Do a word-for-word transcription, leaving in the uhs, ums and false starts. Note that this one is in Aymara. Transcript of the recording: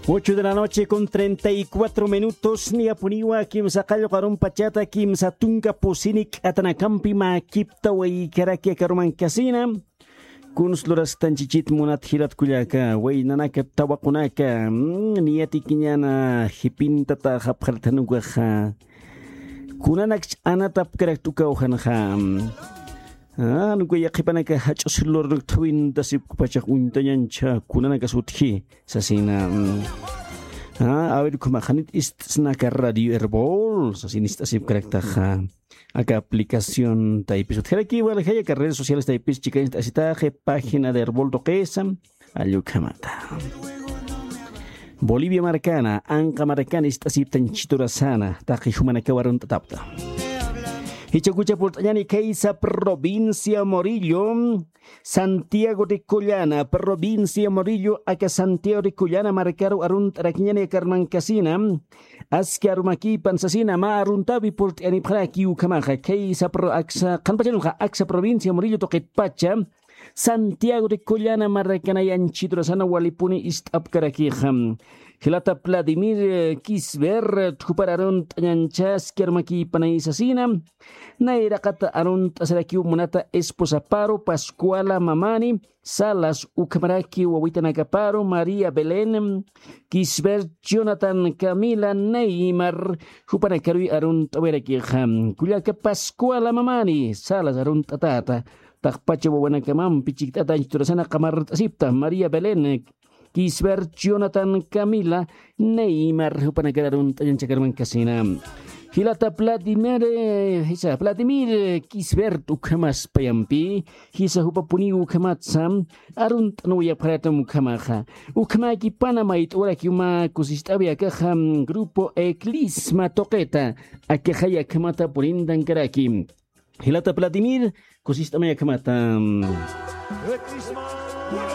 Ocho de la noche con treinta y cuatro minutos, niyapuniwa kimsa qallqu arumpachata kimsa tunka pusini k'atanakampi mä kipta waykaraki akarumankasina. Kuns lurasktan chichit munat jilat kullaka, waynanaka, tawaqunaka, mm, niyatikiñana jipintata japjarthanukaxa. Kunanakch anatapkarak t'ukawjanxa. Ah, nuka yaqhipanaka jach'us lurnuk thawintasipkupachax uñtañancha kunanaka sutji, sasina. Mm. Ah, a ver, ukhama qhanit ist'snaka Radio Erbol, sasin ist'asipkaraktaxa. Aka aplicación taypis utjaraki, waljay aka redes sociales taypis chikañ ist'asitaxi, página de Erbol tuqisa, allukhamata. Bolivia markana, anqa markana ist'asiptañ chiturasana, taqi jumanakaw arunt'atapta. Jichhakucha purt'añani khaysa provincia Murillo, Santiago de Collana, provincia Murillo, aka Santiago de Collana markaru arunt'arakiñani akarmankasina, aski arumakipan sasina, mä aruntawi purt'anipxaraki ukhamaxa, khaysa pro-, aksa, qhanpachanxa, aksa provincia Murillo tuqitpacha, Santiago de Collana markanay anchiturasana walipuni ist'apkarakixa. Jilata Vladimir, eh, Kisbert, jupar arunt'añancha aski arumakipanay sasina. Nayraqata arunt'asarakiw munata esposaparu, Pascuala Mamani Salas, ukhamaraki wawitanakaparu, María Belén Kisbert, Jonathan Camila Neymar, jupanakaruy arunt'awirakixa. Kullaka Pascuala Mamani Salas arunt'atäta, taqpacha wawanakamampi chikt'ata anchiturasana qamart'asipta, María Belén Kisbert, Jonathan Camila Neymar, jupanakar arunt'añancha akarmankasina. Jilata Vladimir, eh, jisa, Vladimir Kisbert ukhamas payampi, jisa jupapuniw ukhamatsa, arunt'anuyapxaratam ukhamaxa. Ukhamäkipana mayt'urakiw mä kusist'awi akaxa, mm, grupo Eclisma tuqita, akaxay akhamata purintankaraki. Jilata Vladimir, kusist'amay akhamata.